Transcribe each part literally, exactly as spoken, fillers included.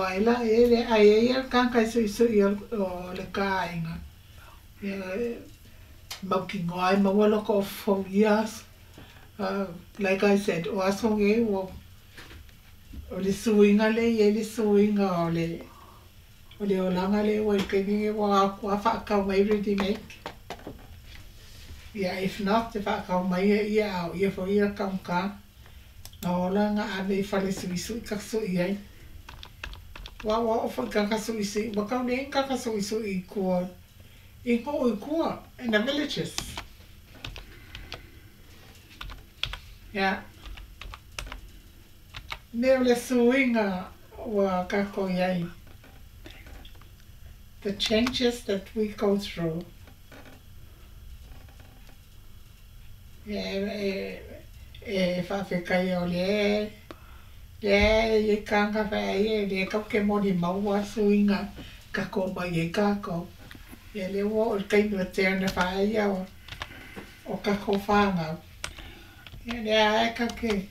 Ua ela e le ai ai le tagata e suʻisuʻi o le ka aiga ia mautinoa e maua lota ofu ia aso. Like I said, o aso nei ua o le suiga lea e iai le suiga o le o le olaga lea ua i le taimi lenei ua atu a faatau mai ready made. Ia if not e faatau mai ia a o ia foi ia taugata na ola na ave i fale suʻisuʻi ka suʻi ai. Ua ua oo foi i tagata suʻisuʻi ua tau leai ni tagata suʻisuʻi i tua i nuu i tua in the villages. Ia mea o le suiga ua tatou iai, the changes that we go through. Ia e e faafetaia o lea lea e iai tagata feai e le tatou te molimauina suiga tatou omai ai tatou. Ia lea ua oo i le taimi o tear faaia o o tatou fanau. Ia lea lava e tatou te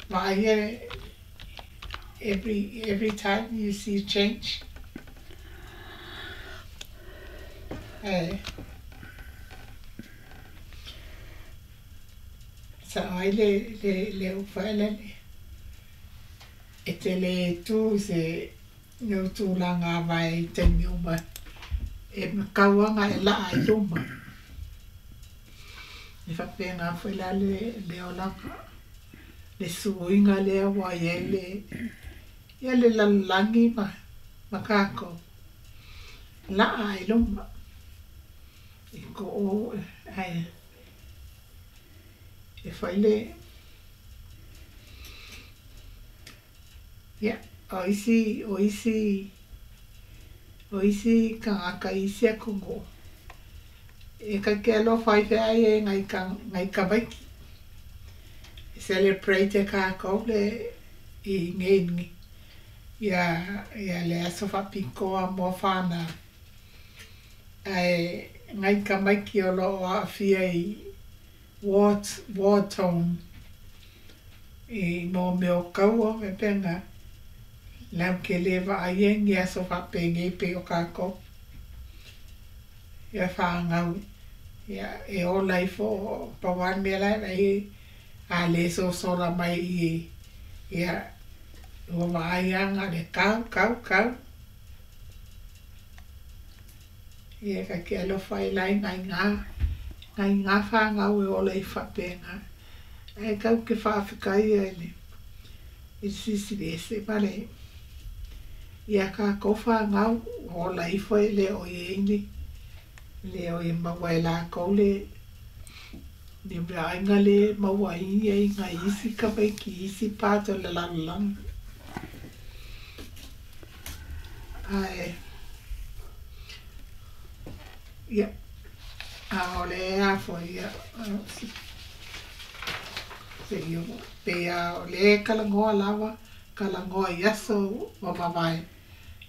vaaia every every time you see change. Ae sao ai le le le upu faelele e te le tu i se lou tulaga avae i taimi uma e matau aga e laa i luma. E faapena foi la le le olaga le suiga lea ua iai le ia le lalolagi ma ma tatou laa i luma i ko ae e fai le ia o isi o isi o isi tagata i isi atunuu e tatou te alofa ai feai e nai nai tamaiti e celebrate e tatou le i nei ia ia le aso faapitoa mo fanau ae nai tamaiti o loo aafia i war war torn i mo mea o kaua faapena latou te le vaaia ni aso faapenei pei o tatou ia fanau ia e ola ifo pau lava le mea la e vaai a le sosola mai i ia ua vaai lava na o le kau kau kau. Ia tatou te alofa ai la i nai nai gā fanau e ola ifo faapena ae tatou te faafetaia i le i le Silisili Ese ma le ia tatou fanau ua ola ifo e le o iai ni le o e maua e latou le le meaaiga le maua ai ai nai isi tamaiti i isi part o le lalolagi. Ae ia a o le a foi ia seia pei a o le talanoa lava talanoa i aso ua mavae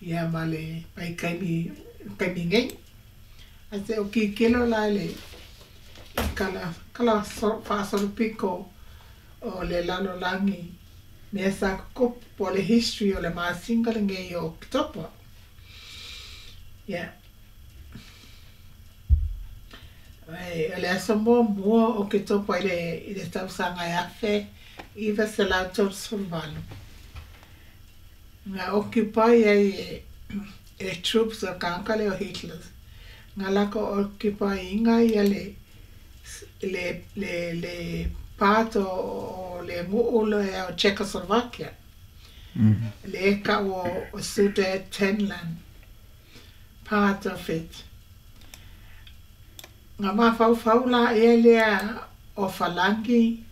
ia ma le vaitaimi taimi nei. Ae se o tilotilo la i le tala tala faasolopito o le lalolagi mea sa tutupu po o le history o le masina lenei o Oketopa. Ia o le aso muamua o Oketopa i le i le tausaga e afe iva selau tolusefulu valu na occupy ai e e troops o tagata lea o Hitler na latou occupy ina ia le le le le part o le nuu lea o Czechoslovakia lea e tau o Sudetenland part of it. Na mafaufau laia lea o Falagi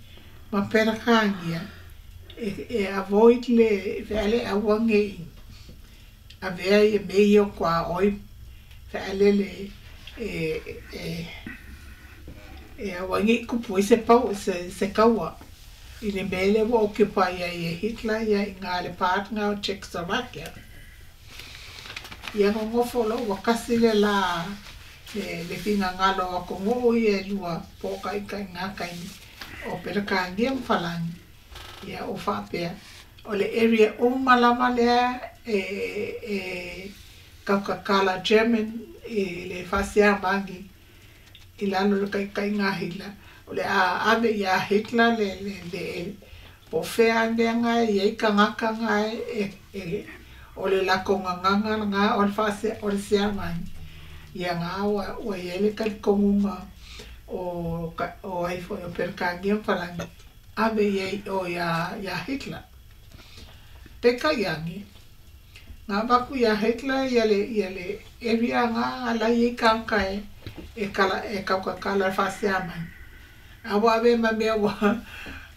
ma Peretania e e avoid le feale aua nei avea ia mea ia o tuaoi fealele e e e aua nei tupu ai se pau se se taua i le mea lea ua occupy ai e Hitler ia i ina le part lena o Czechoslovakia. Ia nonofo loa ua tasi le la le le finagalo o atunuu ia e lua po o taitai i na taimi o Peretania ma Falani. Ia ua faapea O le area uma lava lea e e kaukakala German i le faasiamagi i lalo o le taitaiga a Hitler. O le a ave ia Hitler le le le po o fea mea ga e i ai tagata ga e e o le latou gagaga lena o le faase o le siamagi. Ia ga ua ua i ai le talitonuga o o ai foi o Peretania ma Palagi ave i ai o ia ia Hitler. Peitai ane, na avatu ia Hitler ia le ia le area ga la i ai tagata e e kala e kaukakala le faasiamagi. A ua ave ma mea ua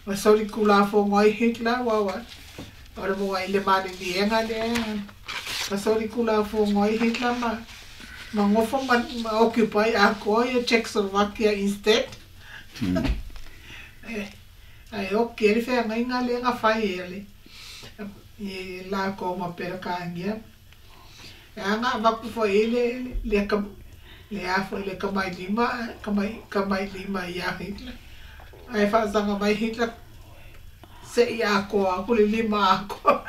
ua solikulafono ai Hitler ua ua o le moa i le maliliega lea ma solikulafono ai Hitler ma ma gofo ma ma occupy atoa ia Czechoslovakia instead. Ae oki ai le feagaiga lea na fai e le i lakou ma Peretania. E aga avatu foi i le le le a foi le tamailima tamai tamailima ia Hitler. Ae faasaga mai Hitler se'i atoa atu le lima atoa.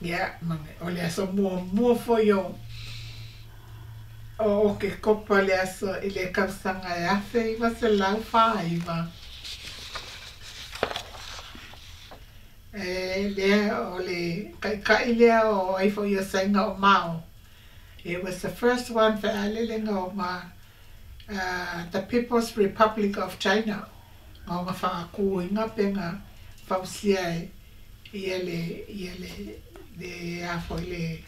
Ia ma o le aso muamua foi o o Okekopa le aso i le tausaga e afe iva selau fāiva. E lea o le taʻitaʻi lea o ai foi o Saina o Mao. It was the first one fealelega o ma uh, the People's Republic of China ma ona faatuina pe na fausia e ia le ia le le a foi le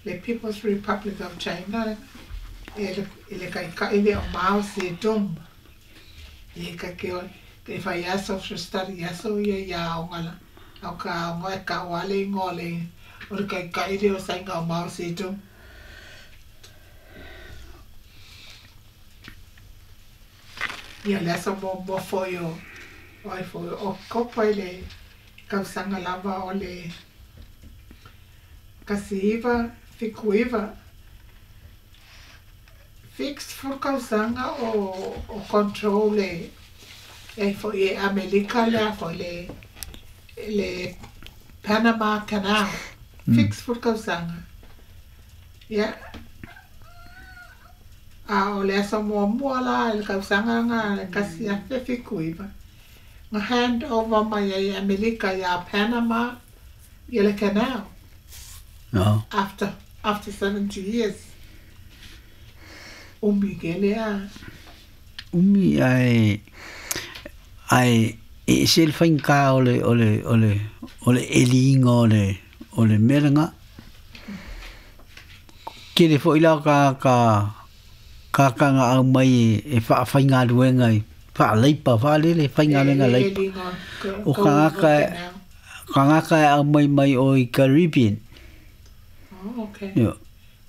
le People's Republic of China e le i le taʻitaʻi lea o Mao Zedong. E ka ke o ke fai a social study aso ia ia aoga la au ka aoga e ta'u a le igoa o le o le taʻitaʻi lea o Saina o Mao Zedong. Ia le aso muamua foi o o ai foi o Okekopa i le tausaga lava o le tasi iva fitu iva. Fixed fulu tausaga o o control e e foi e Amelika le a foi le le Panama Canal. Fixed fulu tausaga. Ia a o le aso muamua la i le tausaga lena le tasi afe fitu iva na hand over mai ai e Amelika iā Panama ia le canal. No. After after seventy years. Umi kele a. Umi ae ae e ese le faigata o le o le o le o le eliga o le o le mea lena. Tele foi la ka ka ka ka nga au mai e faafaigaluega i faaleipa faalele E faigaluega le leipa. eliga O o ka tagata canal. tagata e aumai mai o i Caribbean. Oh, okay. Io.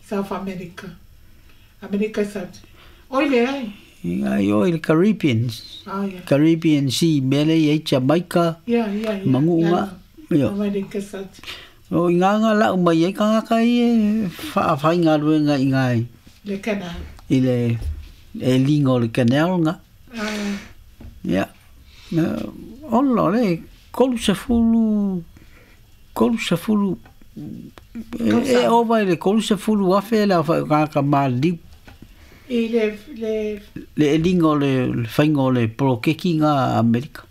South America. America South. Oi leai. Ia o i le Caribbean. Oh yeah. Caribbean Sea mea lea i ai Jamaica Yeah, yeah, yeah. maguuga. Io. America South. O i ngā lau mai ai tagata ia e faafaigaluega i ngā Le canal. i le eliga o le canal nga. Ah, Ia. Ola o le tolu sefulu tolu sefulu e e ova i le tolu sefulu afe le aofai o tagata maliliu i le le le eliga o le le faiga o le poloketi nga a Amerika.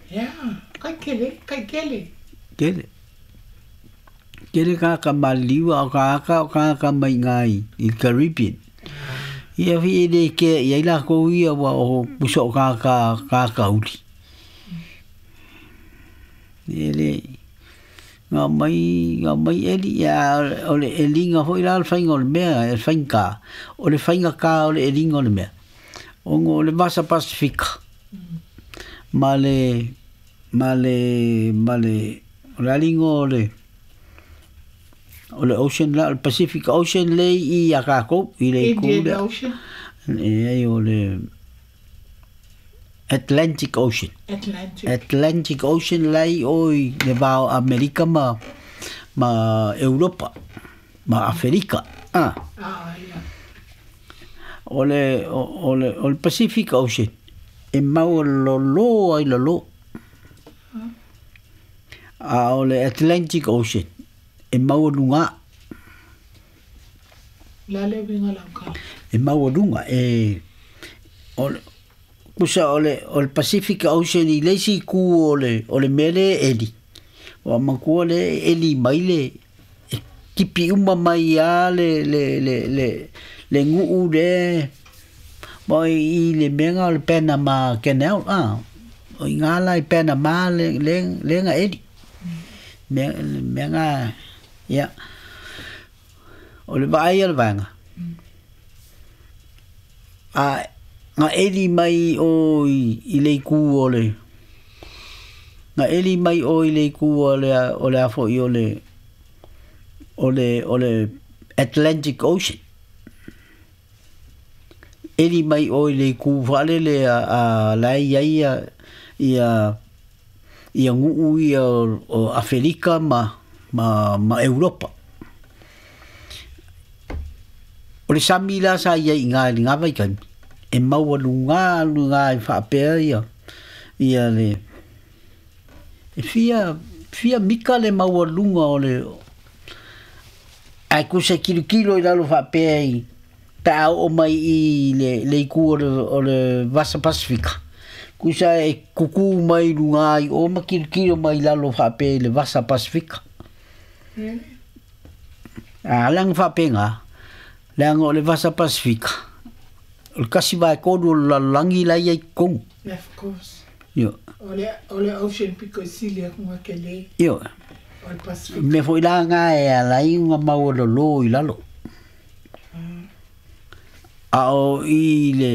Yeah, kai kele, kai kele. Tele. Tele tagata maliliu a o tagata o tagata mai ngā i i Caribbean. Ia fi e le kea i ai lakou ia ua o pusa o tagata tagata uli. E le nga mai nga mai eli ia o le eliga foi la o le faiga o le mea e le faigata o le faigata o le eliga o le mea. Ona o le Vasa Pasifika ma le ma le ma le o le aliga o le o le ocean la o le Pacific Ocean lea i i a tatou i le itu Indian lea. Ocean. E ai o le Atlantic Ocean. Atlantic. Atlantic Ocean la i o i le va o Amerika ma ma Europa ma Aferika. Ah. Ah, yeah. O le o, o le o le Pacific Ocean. E maualō ai lalō. A o le Atlantic Ocean e maualugā. Le a le uiga o lau tala? E maualuga e o le kusa o le o le Pacific Ocean i le isi itu o le o le mea lea e eli. Ua manatua lea e eli mai le e tipi uma mai lava le le le le le nuu lea ma i le mea lena o le Panama Canal a. O i ina la i Panama le le le na eli. Mea mea na ia o le vaai a le vaega a na eli mai o i, i le itu o le na eli mai o i le itu o le o le afo i o le o le o le Atlantic Ocean. Eli mai o i le itu faalele a, a la e i ai ia ia ia nuu ia o, o Afelika ma ma ma Europa. O le sami la sa i ai i ina i lena vaitaimi e maualugā lugā e faapea ia ia le e fia fia mika le maualuga o le ae tusa e kilokilo i lalo faapea i pe a oo mai i le le itu o le o le Vasa Pasifika tusa e kukū mai i lugā i o ma kilokilo mai lalo faapea i le Vasa Pasifika. Really? A leaga faapena leaga o le Vasa Pasifika o le tasi vaetolu o le lalolagi la e i ai i totonu. Of course. Ioe. O le o le ocean pito i sili atu ga tele. Ioe. O le Pacific. Mea foi la lena e ala ai ona maualō i lalo. A o i le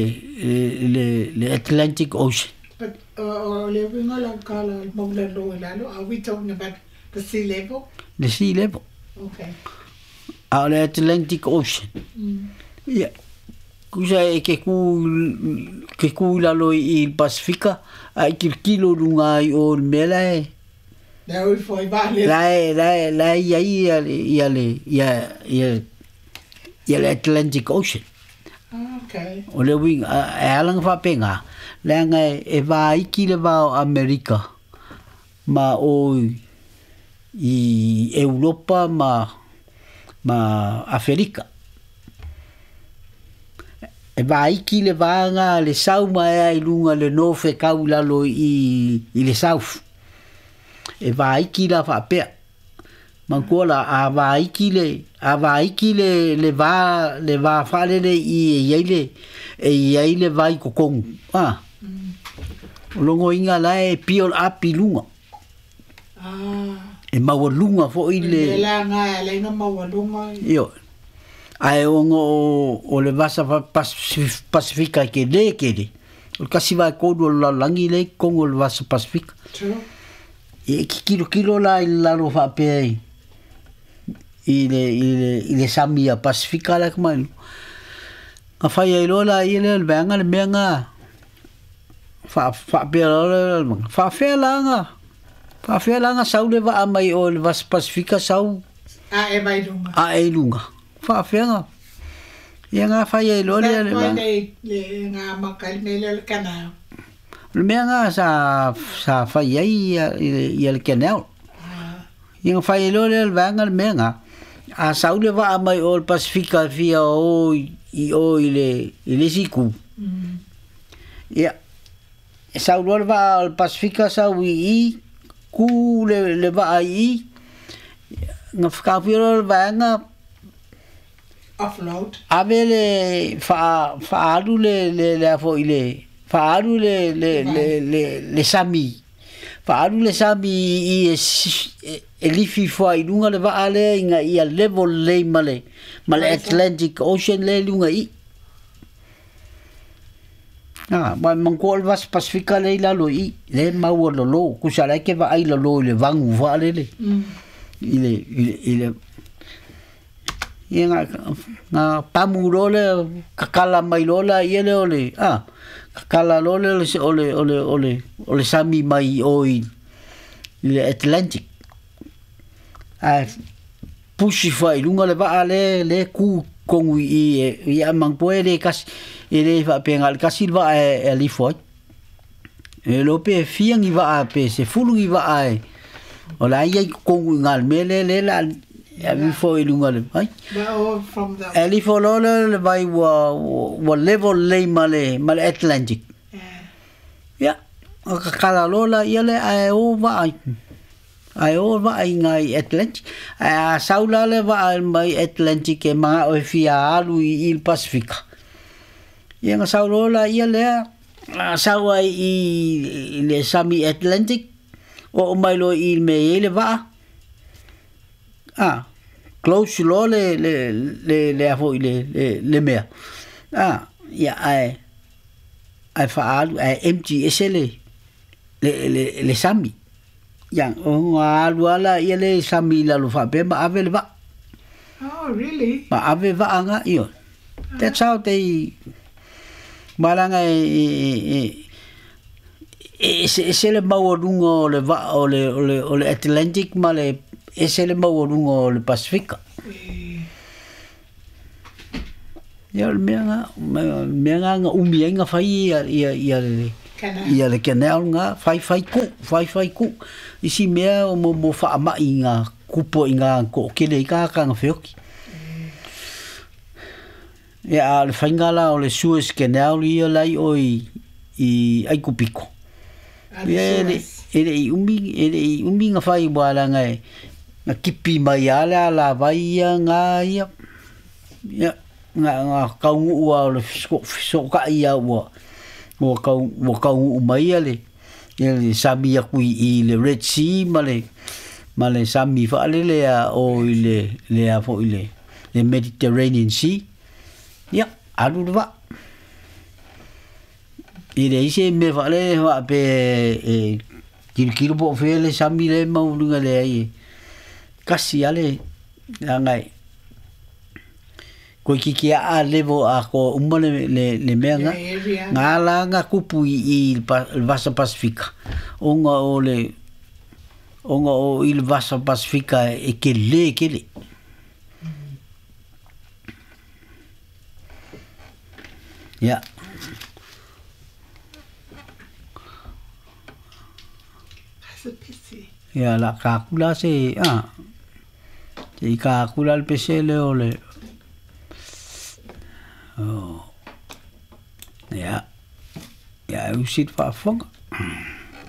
le le Atlantic Ocean. But o le uiga o lau tala o le maualō i lalo, are we talking about the sea level? Le sea level. Okay. A o le Atlantic Ocean. Ia, tusa e ke kū ke kū i lalo i le Pasifika, a e kilokilo i luga ai o i le mea la e Le ui foi vale. la e la e la e i ai ia le ia le ia ia ia le Atlantic Ocean. Okay. O le uiga e ala ona faapena, leaga e vaiki le va o Amerika ma o i Europa ma ma Afelika. E vaiki le vaga le sau mai ai i luga le north e kau i lalo i i le south. E vaiki la faapea. Manatua la a vaiki le a vaiki le le va le va faalele i e i ai le e i ai le vai i totonu a. O logoina la e pio le api i luga. Ah. E maualuga foi Le le la nga le nga maualuga. Ioe. Ae ona o o le vasa Pasifika e kelē kele. O le tasi vaetolu o le lalolagi lea i totonu o le vasa Pasifika. True. Ia e kilokilo la i lalo faapea i i le i le i le sami a Pasifika la ka mai. Na fai ai loa la ia lea o le vaega le mea na fa faapea loa lea o le faafefea la na faafefea la na sau le vaa mai o le vasa Pasifika sau A e mai luga. a e i luga. Faafefea na ia na fai ai loa lea That le why vaega. they le nga maka le mea lea o le canal. O le mea na sa sa fai ai ia ia le canal. Ah. Ia na fai ai loa lea o le vaega le mea na a sau le vaa mai o le Pasifika e fia o i o i le i le isi itu. Mm. Ia e sau loa le vaa o le Pasifika sau i i kū le le vaa i i na whakawhia loa le vaega Offload. ave le wha whaalu le le le afo i le whaalu le le le le le sami whaalu le sami i e, e, e lifi fua i lunga le vaa lea ina ia level lelei ma le ma le Atlantic Ocean lea i luga i i. Ah, ma manatua o le vasa Pasifika lea i lalo i i, lea e maualō, tusa la e ke vaai lalō i le vagu faalele Mm. i le i le i le ia na na pamu loa lea kakala mai loa laia lea o le a kakala loa lea o le o le o le o le o le sami mai o i i le Atlantic. Ae pusi fua i luga le vaa lea lea e kū i totonu i i e ia manatua e le kasi e le faapea na o le tasi le vaa e e alifo ai. E lo pe fia ni va pe se fulu ni va ai. O la ia kongu ngal mele le la ya vi fo i lunga le ai. Oh, from the Ali fo lo le vai wa wa level le male male Atlantic. Ya. O ka kala lo la ia le ai o va ai. Ai o va ai ngai Atlantic. A saula le va ai mai Atlantic e ma o fia alu i il Pacific. Ia nga saulo la ia le a sau ai i le sami Atlantic o mai lo i me le va. Ah, close lo le le le le afo le le le mea. Ah, ia ai ai fa alu ai empty esele le le le sami. Ia o alu ala ia le sami la lo fa pe ma ave le va. Oh, really? Ma ave va anga io. That's how they malanga e e e se le maualunga o le va o le o le o le Atlantic ma le e se le maualunga o le Pasifika. Ia o le mea nga mea nga nga umi ai nga fai ia ia ia le ia le canal nga fai fai ku fai fai ku isi mea o mo mo faama'i nga kupo i nga ko'okele i ka ka nga feoki. Ia a le fainga la o le Suez Canal ia lai o i i Aikupiko. Ia e e le i umi e le i umi nga fai wala nga e nga kipi mai ala la vai ia nga ia ia nga nga kaungu ua o le so ka ia ua ua kau ua kaungu mai ia le ia le sami aku i le Red Sea ma le ma le sami faalele a o i le le a fo i le le Mediterranean Sea. Ia, alu le va. I le ise me whaale wha pe e kilo po fele sami le maulunga le ai. Kasi ale ngai. Ko kiki a levo a ko umma le le le mea nga. Nga la nga kupu i i le Vasa Pasifika. Onga o le onga o i le Vasa Pasifika e ke le ke le. Yeah. That's a pity. Ia la kakula se ah. Te kakula le pese le o le. Oh. Ia. Ia usit fa fonga.